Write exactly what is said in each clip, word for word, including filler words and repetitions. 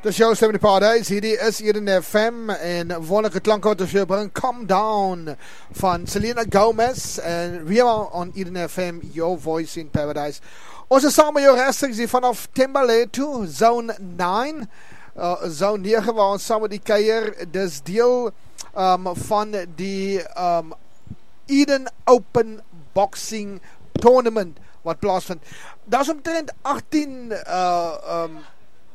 Dis jou stem in die Paradise. Hierdie is Eden F M en wonderlike klanke wat ons vir jou bring. Calm Down van Selena Gomez en we are on Eden F M, your voice in paradise. Ons is saam met jou regstreeks hier vanaf Thembalethu, Zone nine, uh, Zone nege, waar ons saam met die kuier. Dis deel um, van die um, Eden Open Boxing Tournament wat plaasvind. Daar is omtrent agttien uh, um,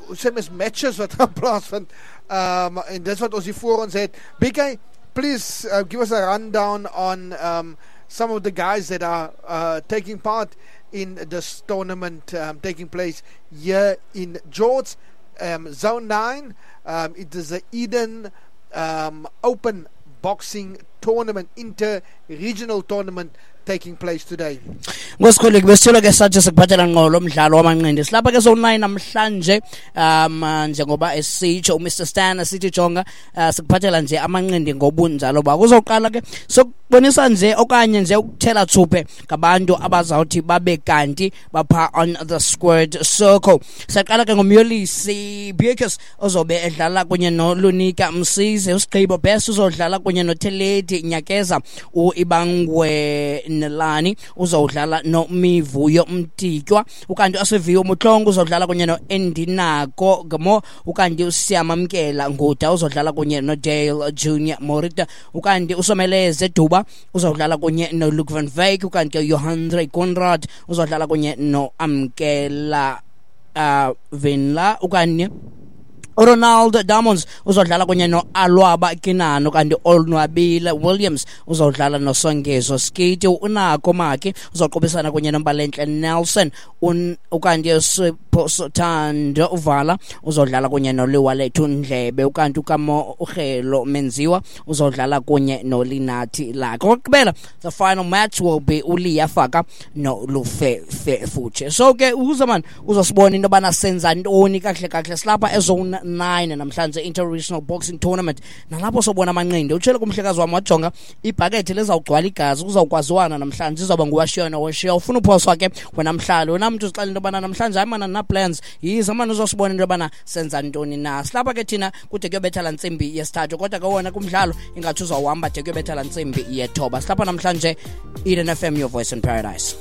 hoe sê mens, matches wat gaan plaasvind, um, en dis wat ons hier voor ons het. B K, please uh, give us a rundown on um, some of the guys that are uh, taking part in this tournament um, taking place here in George, um, Zone nine. Um, it is the Eden um, Open Boxing Tournament, inter-regional tournament taking place today. Ngosikhuleke besithola ke sathi sikuphathela ngqo lo mdlalo wamanqindi. Silapha ke Zone nine namhlanje, um njengoba esitsho uMr Stan sithi jonga, uh, sikuphathela nje amanqindi ngobunjalo ba. Kuzoqala ke sokubonisa nje okanye nje ukuthela thuphe ngabantu abazawuthi babe kanti bapha on the squared circle. Siyaqala ke ngoMyolisi Bukes ozobe edlala kunye noLunika Msize, uSigqibo Best uzodlala kunye noTheledi Nyakeza, uIbangwe Nelani uzodlala noMivuyo Mtitywa, ukanti uSiviwe Mutlongo uzodlala kunye noEndinako Gamo, ukanti uSiyamamkela Nguda uzodlala kunye noDale Junior Morita, ukanti uSomeleze Duba uzodlala kunye noLuke van Wyk, ukanti uJohandre Conrad uzodlala kunye noAmkela uh, Venla, ukanti Ronald Diamonds uzodlala kunye noAlwaba Kinano, kanti Olnwabile Williams uzodlala noSongezo Skiti, uNako Maki uzoqobisana kunye noMbalenhle Nelson, ukanti uSipho Thando Uvala uzodlala kunye noLiwalethu Ndlebe, ukanti uKamo Urhelo Menziwa uzodlala kunye noLinathi Lakhe. Okugqibela, the final match will be uLiya Faka noLufefe Futshe. So ke uzaman uzosibona into yobana senza ntoni kahle kahle. Silapha eZone nine namhlanje, Inter-Regional Boxing Tournament, nalapho sobona amanqindi. Utshele kumhlekazi wami wajonga ibhakethi lezawugcwala igazi, kuzawukwaziwana namhlanje, izawuba nguwashiya nowashiya. Ufuna uphoswa ke wena mhlali, wena mntu uzixela into yobana namhlanje hayi mana na plans, yiza mani uzosibona into yobana senza ntoni na. Silapha ke thina kude kuyobetha la ntsimbi yesithathu, kodwa ke wona kumdlalo ingathi uzawuhamba de kuyobetha la ntsimbi yethoba. Silapha namhlanje, Eden F M, your voice in paradise.